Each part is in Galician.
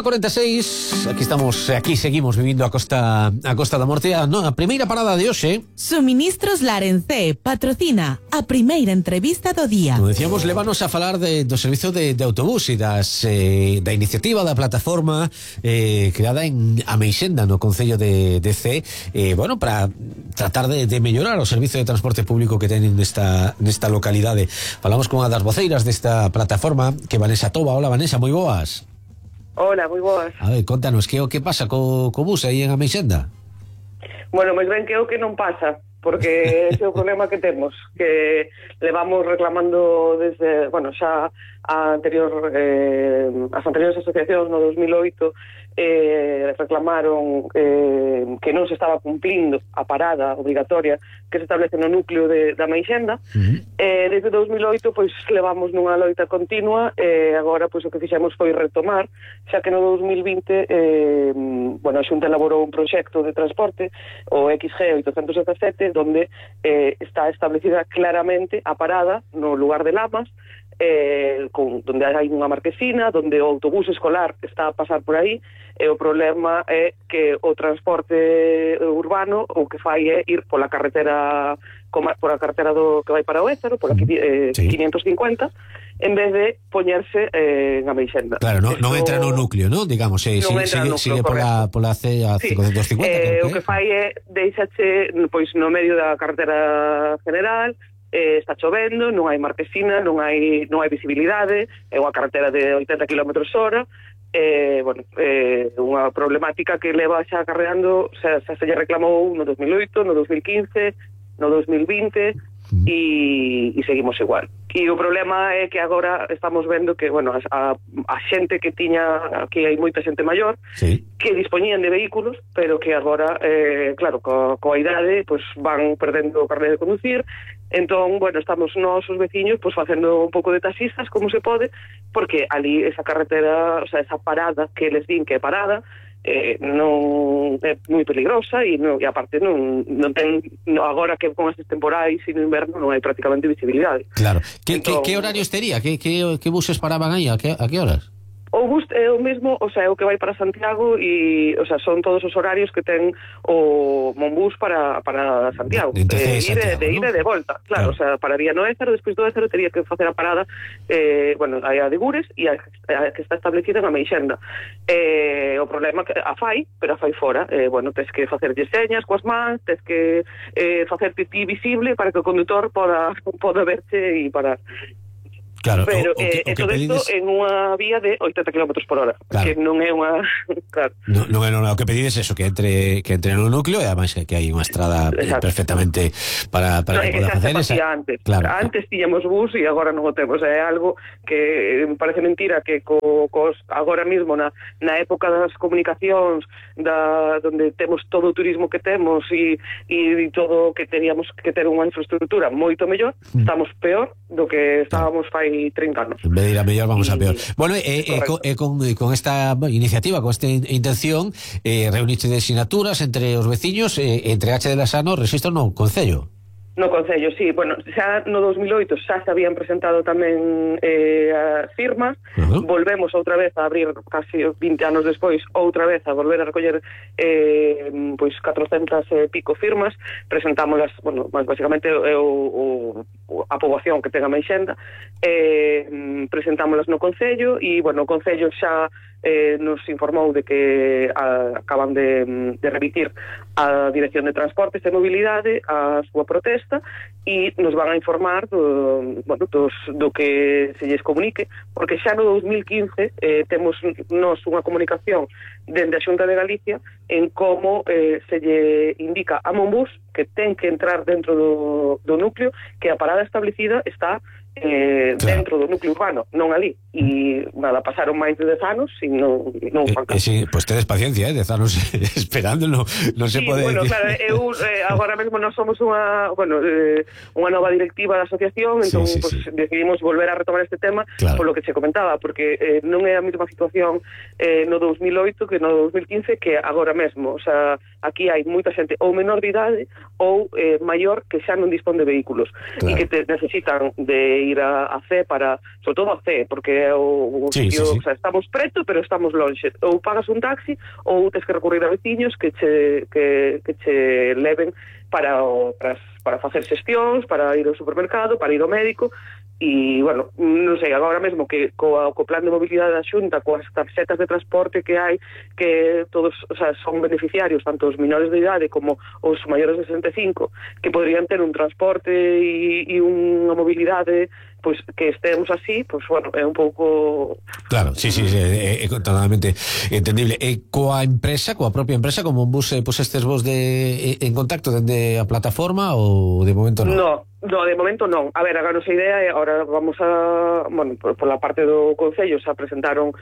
1:46, aquí seguimos vivindo a Costa da Morte. A primeira parada de hoxe. Suministros Larencé patrocina a primeira entrevista do día. Como decíamos, levanos a falar do servizo de autobús e da iniciativa da plataforma creada en Ameixenda, no Concello de Cee, para tratar de mellorar o servizo de transporte público que tenen nesta localidade. Falamos con unha das voceiras desta plataforma, que Vanessa Toba. Hola, Vanessa, moi boas. Hola, moi boas. A ver, contanos, que pasa co bus aí en Ameixenda? Bueno, máis ben que o que non pasa, porque ese é o problema que temos, que levamos reclamando desde, xa as anteriores asociacións no 2008 reclamaron que non se estaba cumplindo a parada obligatoria que se establece no núcleo da Ameixenda. Desde 2008 levamos nunha loita continua, agora o que fixemos foi retomar, xa que no 2020 a Xunta elaborou un proxecto de transporte, o XG 817, donde está establecida claramente a parada no lugar de Lamas, donde hai unha marquesina, donde o autobús escolar está a pasar por aí, e o problema é que o transporte urbano o que fai é ir pola carretera do que vai para o Ézaro, pola 550, en vez de poñerse en Ameixenda. Claro, non entra no núcleo, ¿no? Digamos, sigue pola C a 550. O que fai é deixache no medio da carretera general. Está chovendo, non hai marquesina, non hai visibilidade, é unha carretera de 80 km/h, unha problemática que leva xa acarreando, xa se lle reclamou no 2008, no 2015, no 2020, e seguimos igual. E o problema é que agora estamos vendo que, a xente que tiña, aquí hai moita xente maior, sí, que dispoñían de vehículos, pero que agora, claro, coa idade, van perdendo o carné de conducir. Entón, estamos nós, os veciños, facendo un pouco de taxistas, como se pode, porque ali esa carretera, esa parada que les din que é parada, non é moi peligrosa e aparte non ten, agora que con estes temporais e no inverno non hai prácticamente visibilidade. Claro. Que horarios tería? Que buses paraban aí? A que horas? O bus é o mesmo, é o que vai para Santiago e, son todos os horarios que ten o Monbús para Santiago. De ida e de volta, claro. Pararía no Ézaro, despois do Ézaro tería que facer a parada, hai a de Gures e a que está establecida na Ameixenda. O problema que a fai, pero a fai fora. Tens que facer señas coas mans, tens que facerte ti visible para que o condutor poda verche e parar. Claro, pero todo isto en unha vía de 80 km/h, claro, que non é unha... Claro. Non é o que pedides eso, que entre no núcleo, e ademais que hai unha estrada perfectamente para que poda facer esa. Antes, claro. Antes tiñamos bus e agora non o temos. É algo que me parece mentira que agora mesmo na época das comunicacións, donde temos todo o turismo que temos e todo que teríamos que ter unha infraestructura moito mellor, estamos peor do que estábamos fai 30 anos. En vez de ir a mellor, vamos a peor. Bueno, con esta iniciativa, con esta intención, reuniche de sinaturas entre os veciños, entregache de la Sano registro no Concello. No Concello, sí. Xa no 2008 xa se habían presentado tamén as firmas. Volvemos outra vez a abrir, casi 20 anos despois, outra vez a volver a recoller 400 e pico firmas. Presentámoslas, basicamente a poboación que ten a Ameixenda, presentámoslas no Concello e, o Concello xa nos informou de que acaban de remitir a Dirección de Transportes e Mobilidade a súa protesta e nos van a informar do que se lles comunique, porque xa no 2015 temos nos unha comunicación dende a Xunta de Galicia en como se lle indica a Monbús que ten que entrar dentro do núcleo, que a parada establecida está dentro do núcleo urbano, non ali. E pasaron máis de 10 anos e non fan caso. Sí, tedes paciencia, 10 anos esperando, non se pode decir. Claro, agora mesmo non somos unha nova directiva da asociación, entón decidimos volver a retomar este tema, por lo que se comentaba, porque non é a mesma situación no 2008 que no 2015 que agora mesmo. Aquí hai moita xente ou menor de idade ou maior que xa non dispón de vehículos e que necesitan de ir a C sobre todo a C, porque é o sitio, o sea, estamos preto, pero estamos lonxe. Ou pagas un taxi ou tes que recurrir a veciños que che leven para facer xestións, para ir ao supermercado, para ir ao médico. E, bueno, non sei, agora mesmo que co plan de mobilidade da Xunta, coas tarxetas de transporte que hai, que todos, o sea, son beneficiarios, tanto os menores de idade como os maiores de 65, que podrían ter un transporte e unha mobilidade, pois que estemos así, pois, bueno, é un pouco... Claro, sí, é totalmente entendible. Coa propia empresa, como un bus, pois estes vos en contacto dende a plataforma ou de momento non? No, de momento non. A ver, a nosa idea é, agora vamos a, bueno, por la parte do Concello xa presentaron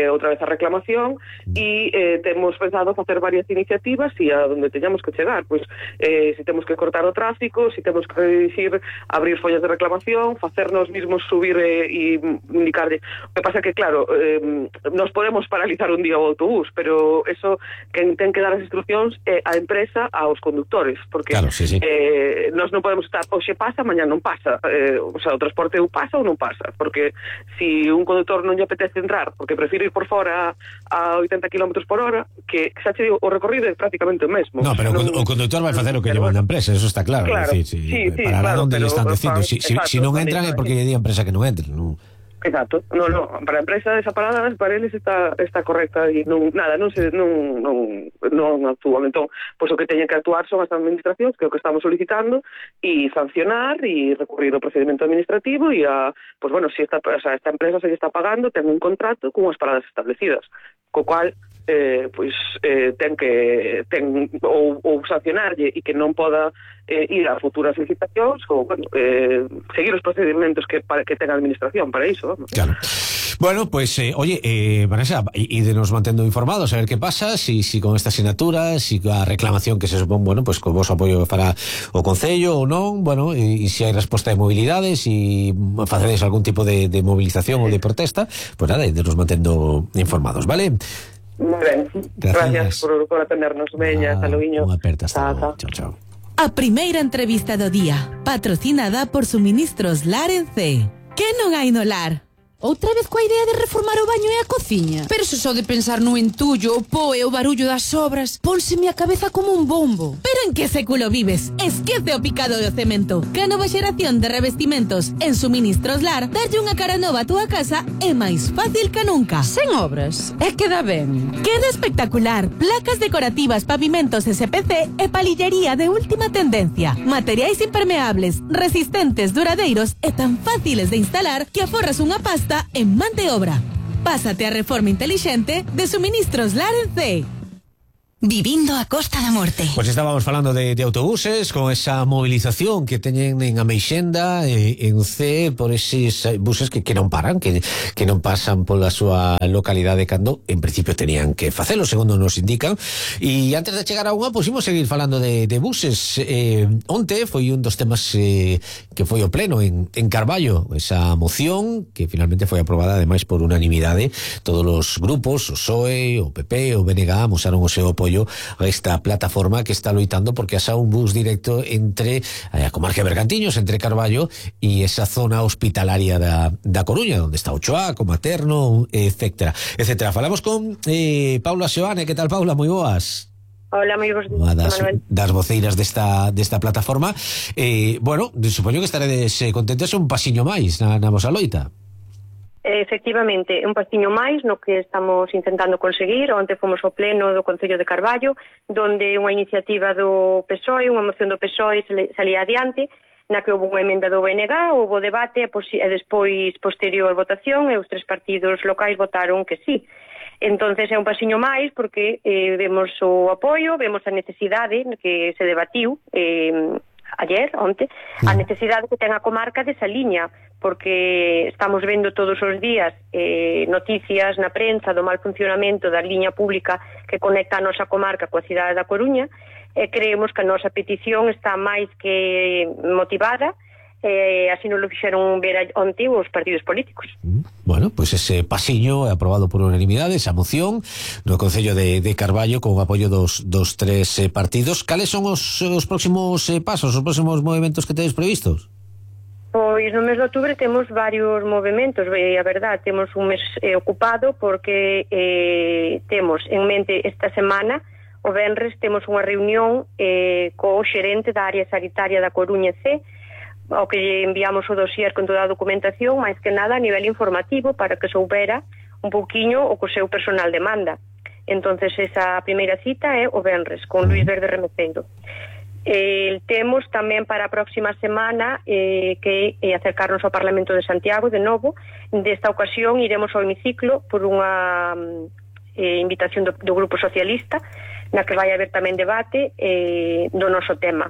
outra vez a reclamación e temos pensado facer varias iniciativas e a donde teñamos que chegar, pois se temos que cortar o tráfico, se temos que redirixir, abrir follas de reclamación, facernos mismos subir e indicarle. O que pasa que, claro, nos podemos paralizar un día o autobús, pero eso quen ten que dar as instruccións é a empresa aos conductores, porque claro, sí. Nós non podemos estar, hoxe pasa, mañá non pasa, o sea, o transporte ou pasa ou non pasa, porque si un conductor non lle apetece entrar porque prefire ir por fora a 80 km por hora, que xa che digo, o recorrido é prácticamente o mesmo. No, pero o conductor vai facer o que lle manda a empresa, eso está claro. Decir, sí, para claro, onde lle están dicindo, si non entran é porque lle di a empresa que non entre, non? Exacto, no, para a empresa esa parada para eles está correcta e non actúan. Entón, pois o que teñen que actuar son as administracións, que é o que estamos solicitando, e sancionar e recurrir ao procedimento administrativo e pois bueno, si esta empresa se está pagando, ten un contrato con as paradas establecidas, co cual ten ou sancionarlle e que non poda ir a futuras licitacións ou, bueno, seguir os procedimentos que ten a administración para iso, vamos. Claro. Bueno, pues, oye, Vanessa, nos mantendo informados a ver qué pasa, si con esta asignatura, si a reclamación que se supón, bueno, pues con vos apoio para o Concello ou non, bueno, e se hai resposta de mobilidades e facedes algún tipo de movilización ou de protesta, pues nada, nos mantendo informados, vale? Muy ben, gracias por atendernos. Veña, hasta luego. Unha aperta, hasta logo. Chao. A primeira entrevista do día, patrocinada por Suministros Lar en C. Que non hai no lar? Outra vez coa idea de reformar o baño e a cociña. Pero se só de pensar no entullo, o po e o barullo das obras, pónseme a cabeza como un bombo. Pero en que século vives? Esquece o picado do cemento. Que a nova xeración de revestimentos en Suministros Lar, darlle unha cara nova a túa casa é máis fácil que nunca. Sen obras, é que dá ben. Queda espectacular. Placas decorativas, pavimentos SPC e palillería de última tendencia. Materiais impermeables, resistentes, duradeiros e tan fáciles de instalar que aforras unha pasta en man de obra. Pásate a reforma intelixente de Suministros Lar en C. Vivindo a Costa da Morte. Pues estábamos falando de autobuses, con esa movilización que teñen en Ameixenda, en C, por eses buses que non paran, que non pasan pola súa localidade cando en principio tenían que facelo, segundo nos indican. E antes de chegar a unha, pues imos seguir falando de buses. Onte foi un dos temas que foi o pleno en Carballo, esa moción que finalmente foi aprobada ademais por unanimidade. Todos os grupos, o PSOE, o PP, o BNG mostraron o seu apoio a esta plataforma que está loitando porque haxa un bus directo entre a comarca de Bergantiños, entre Carballo e esa zona hospitalaria da Coruña, onde está Ochoa, Materno, etcétera. Falamos con Paula Seoane. Que tal, Paula? Moi boas. Hola, moi bons días, Manuel. Das voceiras desta plataforma. Bueno, supoño que estaredes contentos, un pasiño máis na vosa loita. Efectivamente, un pastiño máis no que estamos intentando conseguir. Onte fomos ao pleno do Concello de Carballo, donde unha iniciativa do PSOE, unha moción do PSOE salía adiante, na que houve unha emenda do BNG, houve debate e despois posterior votación, e os tres partidos locais votaron que sí. Entonces é un pasiño máis porque vemos o apoio, vemos a necesidade que se debatiu onte, a necesidade que ten a comarca desa liña, porque estamos vendo todos os días noticias na prensa do mal funcionamento da liña pública que conecta a nosa comarca coa cidade da Coruña, e creemos que a nosa petición está máis que motivada. Así nos lo fixeron ver onte os partidos políticos. Bueno, pues ese pasiño aprobado por unanimidade, esa moción no Concello de Carballo con o apoio dos tres partidos. Cales son os próximos pasos, os próximos movimentos que tedes previstos? Pois no mes de outubro temos varios movimentos, a verdad, temos un mes ocupado porque temos en mente esta semana, o venres, temos unha reunión co xerente da área sanitaria da Coruña C, ao que lle enviamos o dossier con toda a documentación, máis que nada a nivel informativo, para que soubera un pouquiño o que o seu personal demanda. Entonces esa primeira cita é o venres, con Luis Verde Remeceiro. Temos tamén para a próxima semana que acercarnos ao Parlamento de Santiago de novo. Desta ocasión iremos ao hemiciclo por unha invitación do Grupo Socialista, na que vai haber tamén debate do noso tema.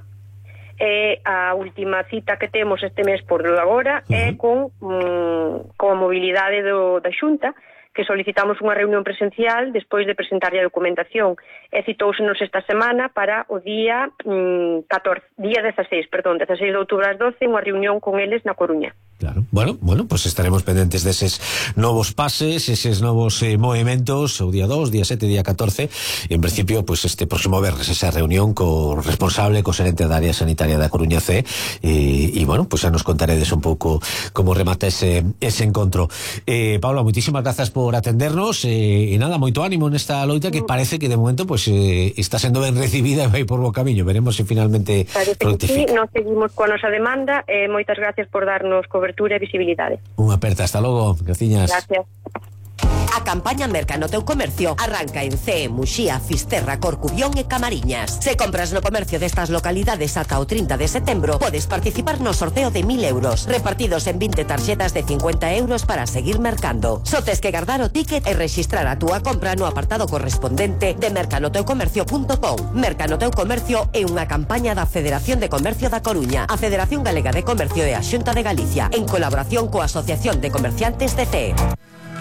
A última cita que temos este mes por agora é con a mobilidade da Xunta, que solicitamos unha reunión presencial despois de presentarlle a documentación. Citóusenos esta semana para o día 16 de outubro ás 12, unha reunión con eles na Coruña. Claro. Bueno, pues estaremos pendentes deses novos pases, eses novos movimentos, o día 2, día 7, día 14, e en principio, pues este próximo verres, esa reunión co responsable, co xerente da área sanitaria da Coruña C, e bueno, pues xa nos contaredes un pouco como remata ese encontro. Paula, muitísimas grazas por atendernos, e nada, moito ánimo nesta loita que parece que de momento pues está sendo ben recibida e vai por bo camiño. Veremos se finalmente Sí, fructifica. nos seguimos coa nosa demanda, moitas gracias por darnos cobertura e visibilidade. Unha aperta, hasta logo, graciñas. Gracias. A campaña Merca no teu comercio arranca en CE, Muxía, Fisterra, Corcubión e Camariñas. Se compras no comercio destas localidades ata o 30 de setembro, podes participar no sorteo de 1.000 euros, repartidos en 20 tarxetas de 50 euros para seguir mercando. Só tes que guardar o ticket e rexistrar a túa compra no apartado correspondente de mercanoteucomercio.com. Merca no teu comercio é unha campaña da Federación de Comercio da Coruña, a Federación Galega de Comercio e a Xunta de Galicia, en colaboración coa Asociación de Comerciantes de CE.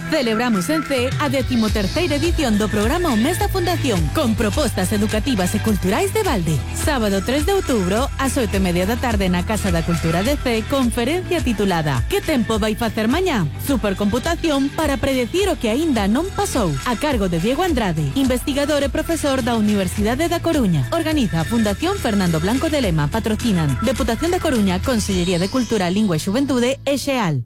Celebramos en CE a 13ª edición do programa O Mes da Fundación, con propostas educativas e culturais de balde. Sábado 3 de outubro, ás 8:30 da tarde na Casa da Cultura de CE, conferencia titulada Que tempo vai facer mañá? Supercomputación para predecir o que aínda non pasou, a cargo de Diego Andrade, investigador e profesor da Universidade da Coruña. Organiza a Fundación Fernando Blanco de Lema, patrocinan Deputación da Coruña, Consellería de Cultura, Lingua e Xuventude e XEAL.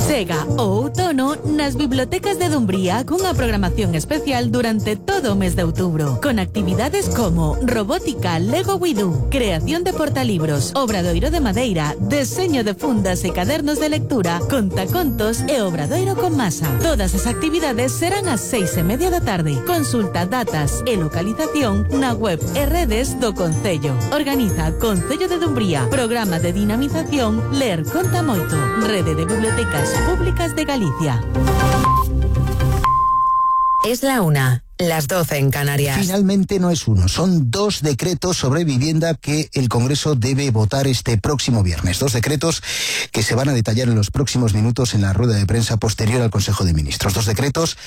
Chega o outono nas bibliotecas de Dumbría cunha programación especial durante todo o mes de outubro, con actividades como robótica, Lego Widú, creación de portalibros, obradoiro de madeira, deseño de fundas e cadernos de lectura, contacontos e obradoiro con masa. Todas as actividades serán ás 6:30 da tarde. Consulta datas e localización na web e redes do Concello. Organiza Concello de Dumbría, programa de dinamización Ler Conta Moito, Rede de Bibliotecas Públicas de Galicia. Es la 1, las 12 en Canarias. Finalmente no es uno, son 2 decretos sobre vivienda que el Congreso debe votar este próximo viernes. 2 decretos que se van a detallar en los próximos minutos en la rueda de prensa posterior al Consejo de Ministros. 2 decretos